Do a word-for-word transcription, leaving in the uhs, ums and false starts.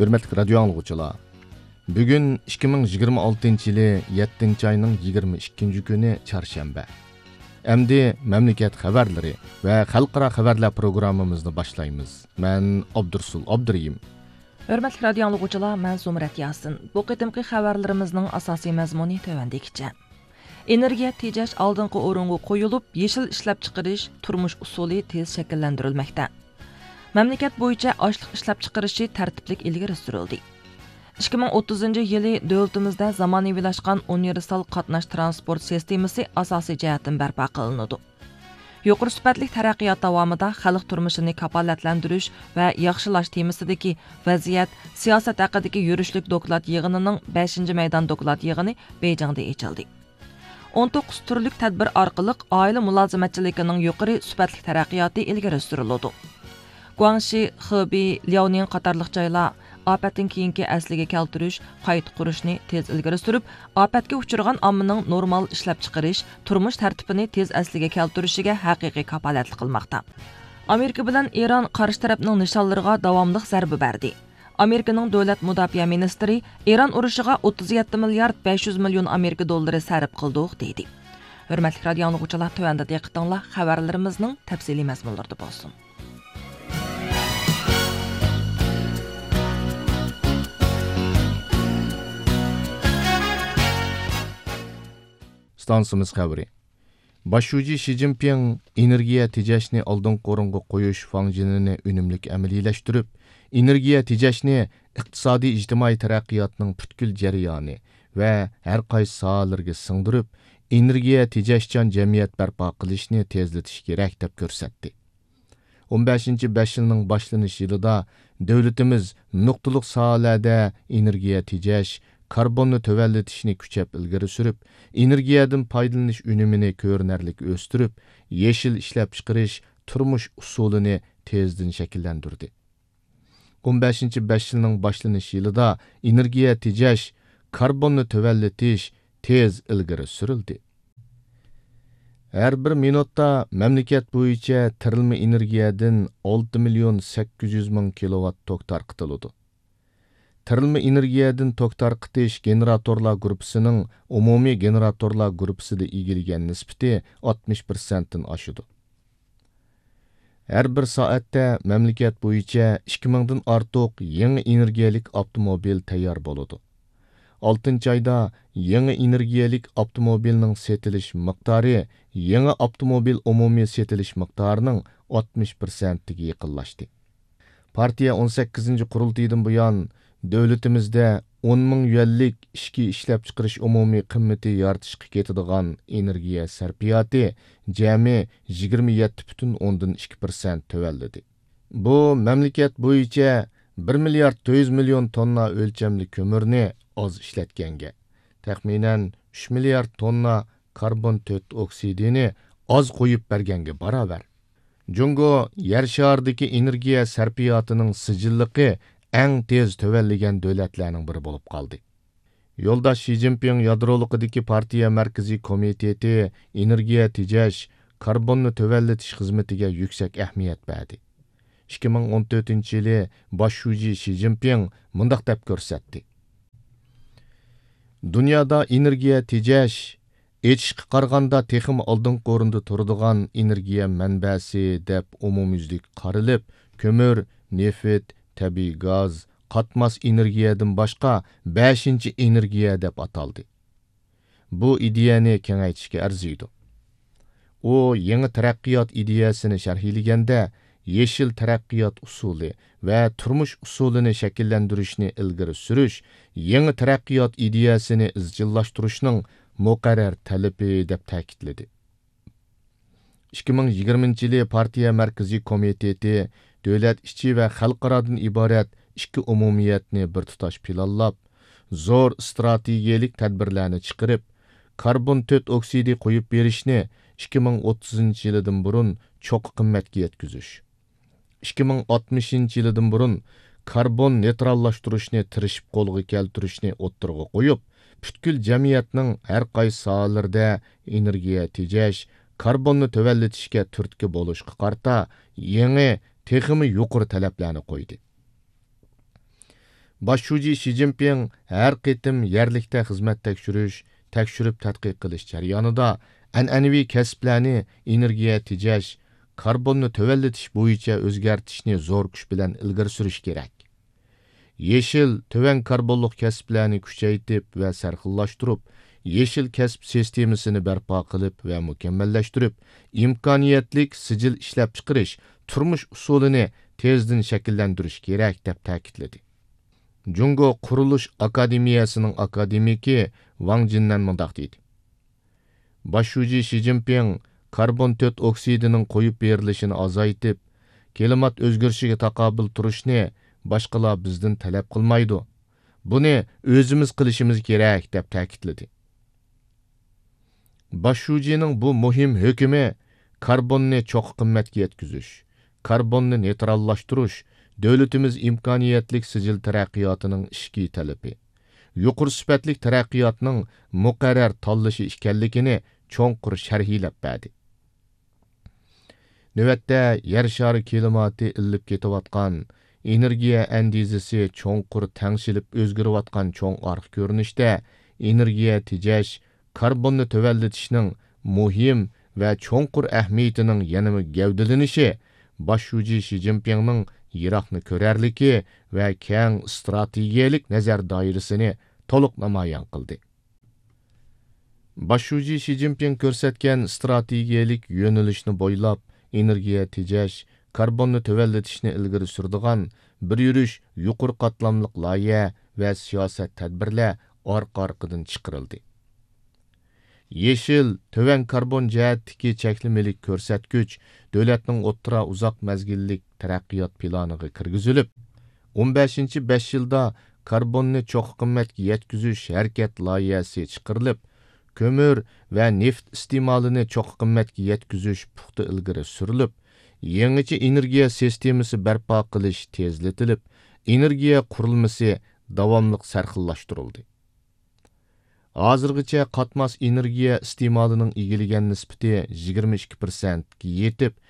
ھۆرمەتلىك رادىيو ئاڭلىغۇچىلار، بۈگۈن ئىككى مىڭ يىگىرمە ئالتىنچى يىلى يەتتىنچى ئاينىڭ يىگىرمە ئىككىنچى كۈنى، چارشەنبە. ئەمدى مەملىكەت خەۋەرلىرى ۋە خەلقئارا خەۋەرلەر پروگراممىمىزنى باشلايمىز. مەن ئابدۇرسۇل ئابدۇرېھىم. ھۆرمەتلىك رادىيو ئاڭلىغۇچىلار، مەن زۇمرەت ياسىن. بۇ قېتىمقى خەۋەرلىرىمىزنىڭ ئاساسىي مەزمۇنى تۆۋەندىكىچە. ئېنېرگىيە تېجەش ئالدىنقى ئورۇنغا قويۇلۇپ، يېشىل ئىشلەپچىقىرىش تۇرمۇش ئۇسۇلى تېز شەكىللەندۈرۈلمەكتە. مەملىكەت بويىچە ئاشلىق ئىشلەپچىقىرىشى تەرتىپلىك ئىلگىرى سۈرۈلدى. ئىككى مىڭ ئوتتۇزىنچى يىلى دۆلىتىمىزدە زامانىۋىلاشقان ئۇنىۋېرسال قاتناش ترانسپورت سىستېمىسى ئاساسىي جەھەتتىن بەرپا قىلىنىدۇ. يۇقىرى سۈپەتلىك تەرەققىيات داۋامىدا خەلق تۇرمۇشىنى كاپالەتلەندۈرۈش ۋە ياخشىلاش تېمىسىدىكى ۋەزىيەت، سىياسەت ھەققىدىكى يۈرۈشلۈك دوكلات يىغىنىنىڭ بەشىنچى مەيدان دوكلات يىغىنى بېيجىڭدا ئېچىلدى. ئون توققۇز تۈرلۈك تەدبىر ئارقىلىق ئائىلە مۇلازىمەتچىلىكىنىڭ يۇقىرى سۈپەتلىك تەرەققىياتى ئىلگىرى سۈرۈلىدۇ. گۇاڭشى، خېبېي، لياۋنىڭ قاتارلىق جايلار ئاپەتتىن كېيىنكى ئەسلىگە كەلتۈرۈش، قايتا قۇرۇشنى تېز ئىلگىرى سۈرۈپ، ئاپەتكە ئۇچرىغان ئاممىنىڭ نورمال ئىشلەپچىقىرىش، تۇرمۇش تەرتىپىنى تېز ئەسلىگە كەلتۈرۈشىگە ھەقىقىي كاپالەتلىك قىلماقتا. ئامېرىكا بىلەن ئىران قارشى تەرەپنىڭ نىشانلىرىغا داۋاملىق زەربە بەردى. ئامېرىكىنىڭ دۆلەت مۇداپىئە مىنىستىرى ئىران ئۇرۇشىغا ئوتتۇز يەتتە مىليارد بەش يۈز مىليون ئامېرىكا دوللىرى سەرپ قىلدۇق، دېدى. ھۆرمەتلىك رادىيو ئاڭلىغۇچىلار، تۆۋەندە دىققىتىڭلار خەۋەرلىرىمىزنىڭ تەپسىلىي مەزمۇنلىرىدا بولسۇن. ئىستانسىمىز خەۋىرى. باش شۇجى شى جىنپىڭ ئېنېرگىيە تېجەشنى ئالدىنقى ئورۇنغا قويۇش فاڭجېنىنى ئۈنۈملۈك ئەمەلىيلەشتۈرۈپ، ئېنېرگىيە تېجەشنى ئىقتىسادىي ئىجتىمائىي تەرەققىياتنىڭ پۈتكۈل جەريانى ۋە ھەر قايسى ساھەلەرگە سىڭدۈرۈپ، ئېنېرگىيە تېجەشچان جەمئىيەت بەرپا قىلىشنى تېزلىتىش كېرەك، دەپ كۆرسەتتى. ئون بەشىنچى بەش يىلنىڭ باشلىنىش يىلىدا دۆلىتىمىز نۇقتىلىق ساھەلەردە ئېنېرگىيە تېجەش، كاربوننى تۆۋەنلىتىشنى كۈچەپ ئىلگىرى سۈرۈپ، ئېنېرگىيەدىن پايدىلىنىش ئۈنۈمىنى كۆرۈنەرلىك ئۆستۈرۈپ، يېشىل ئىشلەپچىقىرىش تۇرمۇش ئۇسۇلىنى تېزدىن شەكىللەندۈردى. ئون بەشىنچى بەش يىلنىڭ باشلىنىش يىلىدا ئېنېرگىيە تېجەش، كاربوننى تۆۋەنلىتىش تېز ئىلگىرى سۈرۈلدى. ھەر بىر مىنۇتتا مەملىكەت بويىچە تېرىلمە ئېنېرگىيەدىن ئالتە مىليون سەككىز يۈز مىڭ كىلوۋات توك تارقىتىلىدۇ. تېرىلمە ئېنېرگىيەدىن توك تارقىتىش گېنېراتورلار گۇرۇپپىسىنىڭ ئومۇمىي گېنېراتورلار گۇرۇپپىسىدا ئىگىلىگەن نىسبىتى ئاتمىش پىرسەنتتىن ئاشىدۇ. ھەر بىر سائەتتە مەملىكەت بويىچە ئىككى مىڭدىن ئارتۇق يېڭى ئېنېرگىيەلىك ئاپتوموبىل تەييار بولىدۇ. ئالتىنچى ئايدا يېڭى ئېنېرگىيەلىك ئاپتوموبىلنىڭ سېتىلىش مىقدارى يېڭى ئاپتوموبىل ئومۇمىي سېتىلىش مىقدارىنىڭ ئاتمىش پىرسەنتىگە يېقىنلاشتى. پارتىيە ئون سەككىزىنچى قۇرۇلتىيىدىن بۇيان، دۆلىتىمىزدە ئون مىڭ يۈەنلىك ئىچكى ئىشلەپچىقىرىش ئومۇمىي قىممىتى يارىتىشقا كېتىدىغان ئېنېرگىيە سەرپىياتى جەمئىي يىگىرمە يەتتە پۈتۈن ئوندىن ئىككى پىرسەنت تۆۋەنلىدى. بۇ مەملىكەت بويىچە بىر مىليارد تۆت يۈز مىليون توننا ئۆلچەملىك كۆمۈرنى ئاز ئىشلەتكەنگە، تەخمىنەن ئۈچ مىليارد توننا كاربون تۆت ئوكسىدىنى ئاز قويۇپ بەرگەنگە باراۋەر. جۇڭگو يەر شارىدىكى ئېنېرگىيە سەرپىياتىنىڭ سىجىللىقى ئەڭ تېز تۆۋەنلىگەن دۆلەتلەرنىڭ بىرى بولۇپ قالدى. يولداش شى جىنپىڭ يادرولۇقىدىكى پارتىيە مەركىزىي كومىتېتى ئېنېرگىيە تېجەش، كاربوننى تۆۋەنلىتىش خىزمىتىگە يۈكسەك ئەھمىيەت بەردى. ئىككى مىڭ ئون تۆتىنچى يىلى باش شۇجى شى جىنپىڭ مۇنداق دەپ كۆرسەتتى: دۇنيادا ئېنېرگىيە تېجەش، ئېچىشقا قارىغاندا تېخىمۇ ئالدىنقى ئورۇندا تۇرىدىغان ئېنېرگىيە مەنبەسى دەپ ئومۇميۈزلۈك قارىلىپ، كۆمۈر، نېفىت، تەبىئىي گاز، قاتماس ئېنېرگىيەدىن باشقا بەشىنچى ئېنېرگىيە دەپ ئاتالدى. بۇ ئىدىيەنى كېڭەيتىشكە ئەرزىيدۇ. ئۇ يېڭى تەرەققىيات ئىدىيەسىنى شەرھلىگەندە، يېشىل تەرەققىيات ئۇسۇلى ۋە تۇرمۇش ئۇسۇلىنى شەكىللەندۈرۈشنى ئىلگىرى سۈرۈش، يېڭى تەرەققىيات ئىدىيەسىنى ئىزچىللاشتۇرۇشنىڭ مۇقەررەر تەلىپى، دەپ تەكىتلىدى. ئىككى مىڭ يىگىرمىنچى يىلى پارتىيە مەركىزىي كومىتېتى دۆلەت ئىچى ۋە خەلقئارادىن ئىبارەت ئىككى ئومۇمىيەتنى بىر تۇتاش پىلانلاپ، زور ئىستراتېگىيەلىك تەدبىرلەرنى چىقىرىپ، كاربون تۆت ئوكسىدى قويۇپ بېرىشنى ئىككى مىڭ ئوتتۇزىنچى يىلىدىن بۇرۇن چوققا قىممەتكە يەتكۈزۈش، ئىككى مىڭ ئاتمىشىنچى يىلىدىن بۇرۇن كاربون نېيتراللاشتۇرۇشنى تىرىشىپ قولغا كەلتۈرۈشنى ئوتتۇرىغا قويۇپ، پۈتكۈل جەمئىيەتنىڭ ھەر قايسى ساھەلىرىدە ئېنېرگىيە تېجەش، كاربوننى تۆۋەنلىتىشكە تۈرتكە بولۇشقا قارىتا يېڭى، تېخىمۇ يۇقىرى تەلەپلەرنى قويدى. باش شۇجى شى جىنپىڭ ھەر قېتىم يەرلىكتە خىزمەت تەكشۈرۈش، تەكشۈرۈپ تەتقىق قىلىش جەريانىدا ئەنئەنىۋى كەسىپلەرنى ئېنېرگىيە تېجەش، كاربوننى تۆۋەنلىتىش بويىچە ئۆزگەرتىشنى زور كۈچ بىلەن ئىلگىرى سۈرۈش كېرەك. يېشىل، تۆۋەن كاربونلۇق كەسىپلەرنى كۈچەيتىپ ۋە سەرخىللاشتۇرۇپ، يېشىل كەسىپ سىستېمىسىنى بەرپا قىلىپ ۋە مۇكەممەللەشتۈرۈپ، ئىمكانىيەتلىك سىجىل ئىشلەپچىقىرىش، تۇرمۇش ئۇسۇلىنى تېزدىن شەكىللەندۈرۈش كېرەك، دەپ تەكىتلىدى. جۇڭگو قۇرۇلۇش ئاكادېمىيەسىنىڭ ئاكادېمىكى ۋاڭ جىننەن مۇنداق دېدى: باش شۇجى شى جىنپىڭ كاربون تۆت ئوكسىدىنىڭ قويۇپ بېرىلىشىنى ئازايتىپ، كىلىمات ئۆزگىرىشىگە تاقابىل تۇرۇشنى باشقىلار بىزدىن تەلەپ قىلمايدۇ. بۇنى ئۆزىمىز قىلىشىمىز كېرەك، دەپ تەكىتلىدى. باش شۇجىنىڭ بۇ مۇھىم ھۆكمى كاربوننى چوققا قىممەتكە يەتكۈزۈش، كاربوننى نېيتراللاشتۇرۇش دۆلىتىمىز ئىمكانىيەتلىك سىجىل تەرەققىياتىنىڭ ئىچكى تەلىپى، يۇقىرى سۈپەتلىك تەرەققىياتنىڭ مۇقەررەر تاللىشى ئىكەنلىكىنى چوڭقۇر شەرھلەپ بەردى. نۆۋەتتە يەر شارى كىلىماتى ئىللىپ كېتىۋاتقان، ئېنېرگىيە ئەندىزىسى چوڭقۇر تەڭشىلىپ ئۆزگىرىۋاتقان چوڭ ئارقا كۆرۈنۈشتە ئېنېرگىيە تېجەش، كاربوننى تۆۋەنلىتىشنىڭ مۇھىم ۋە چوڭقۇر ئەھمىيىتىنىڭ يەنىمۇ گەۋدىلىنىشى باش شۇجى شى جىنپىڭنىڭ يىراقنى كۆرەرلىكى ۋە كەڭ ئىستراتېگىيەلىك نەزەر دائىرىسىنى تولۇق نامايان قىلدى. باش شۇجى شى جىنپىڭ كۆرسەتكەن ئىستراتېگىيەلىك يۆنىلىشنى بويلاپ، ئېنېرگىيە تېجەش، كاربوننى تۆۋەنلىتىشنى ئىلگىرى سۈرىدىغان بىر يۈرۈش يۇقىرى قاتلاملىق لايىھە ۋە سىياسەت تەدبىرلەر ئارقا-ئارقىدىن چىقىرىلدى. يېشىل، تۆۋەن كاربون جەھەتتىكى چەكلىمىلىك كۆرسەتكۈچ دۆلەتنىڭ ئوتتۇرا، ئۇزاق مەزگىللىك تەرەققىيات پىلانىغا كىرگۈزۈلۈپ، ئون بەشىنچى بەش يىلدا كاربوننى چوققا قىممەتكە يەتكۈزۈش ھەرىكەت لايىھەسى چىقىرىلىپ، كۆمۈر ۋە نېفىت ئىستېمالىنى چوققا قىممەتكە يەتكۈزۈش پۇختا ئىلگىرى سۈرۈلۈپ، يېڭىچە ئېنېرگىيە سىستېمىسى بەرپا قىلىش تېزلىتىلىپ، ئېنېرگىيە قۇرۇلمىسى داۋاملىق سەرخىللاشتۇرۇلدى. ھازىرغىچە قاتماس ئېنېرگىيە ئىستېمالىنىڭ ئىگىلىگەن نىسبىتى يىگىرمە ئىككى پىرسەنتكە يېتىپ،